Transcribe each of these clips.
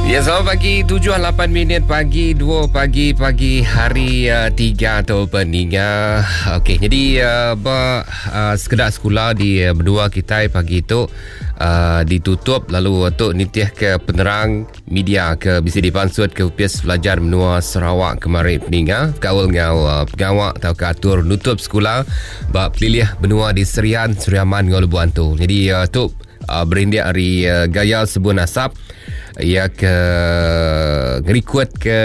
Ya, selamat pagi 7.08 minit pagi 2 pagi pagi hari uh, 3 tu peninga. Okey, jadi uh, ba uh, sekedak sekolah di uh, berdua kita pagi tu uh, ditutup lalu tu nitih ke penerang media ke bisi dipansut ke Opis Pelajar Menua Sarawak kemari peninga bekaul enggau uh, pengawa tauka atur nutup sekula ba pelilih menua di Serian, Sri Aman enggau Lubok Antu. Jadi uh, tu uh, berindik ari uh, gaya sebun asap Iya ke ngerikut ke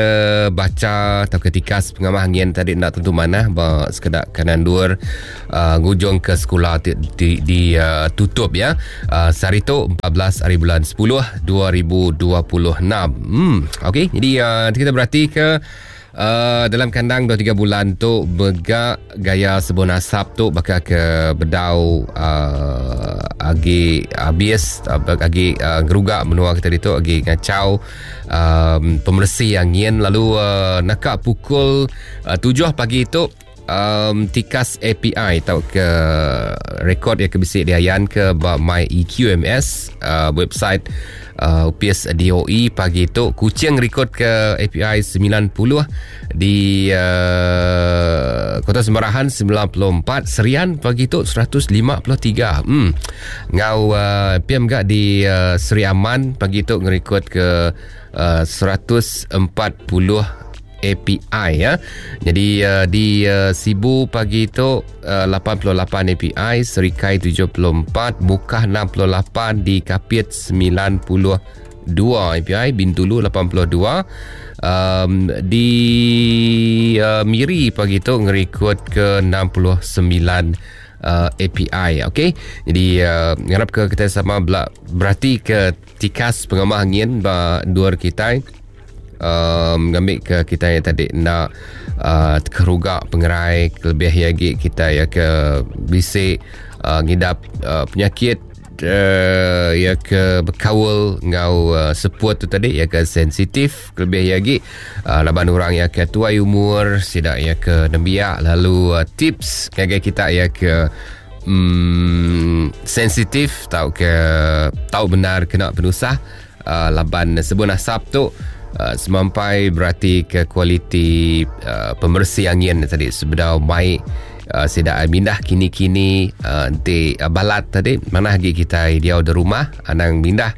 bacha tauka tikas pengamah angin tadi enda tentu manah ba sekeda kanan endur uh, ngujung ke sekula ti di, di uh, tutup ya. Uh, sehari tu 14 hari bulan 10 2026. Hmm okey jadi uh, kita berati ke Uh, dalam kandang 2 3 bulan tu mega gaya sebun asap tu baka ke bedau uh, agi habis uh, agi uh, ngeruga menua kita ditu agi ngachau um, pemeresi angin lalu uh, naka pukul uh, 7 pagi tu um, tikas API tau ke rekod yang ke bisi diayan ke ba My EQMS uh, website uh, UPS DOE pagi tu Kuching rekod ke API 90 di uh, Kota Semarahan 94 Serian pagi tu 153 hmm ngau uh, PM gak di uh, Seri Aman pagi tu ngerekod ke uh, 140 API ya. Jadi uh, di uh, Sibu pagi tu uh, 88 API, Serikai 74, Mukah 68, di Kapit 92 API, Bintulu 82. Um, di uh, Miri pagi tu ngerikut ke 69 uh, API okey. Jadi uh, ngarap ke kita sama berarti ke tikas pengamah angin ba dua kita um, ngambil ke kita yang tadi nak uh, keruga pengerai lebih lagi kita ya ke bisik uh, ngidap uh, penyakit uh, ya ke berkawal ngau uh, seput tu tadi ya ke sensitif lebih lagi uh, laban orang ya ke tuai umur sidak ya ke nembiak lalu uh, tips ngagai kita ya ke um, sensitif tau ke tau benar kena penusah uh, laban sebun asap tu uh, semampai berarti ke kualiti uh, pemersi angin tadi sebedau mai uh, sidak mindah kini-kini uh, enti uh, balat tadi mana lagi kita dia di rumah anang mindah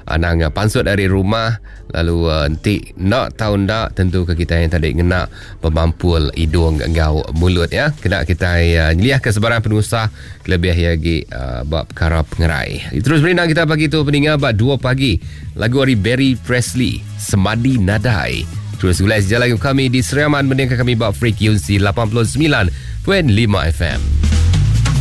anang uh, pansut dari rumah lalu uh, enti nak tahu ndak tentu ke kita yang tadi ngena pemampul hidung enggau mulut ya kena kita uh, nyeliah ke sebarang penusah kelebih lagi uh, bab perkara pengerai. Terus berindang kita pagi tu peninga bab 2 pagi lagu dari Barry Presley Semadi Nadai. Terus gulai sejalan kami di Seriaman mendengarkan kami bab frekuensi 89.5 FM.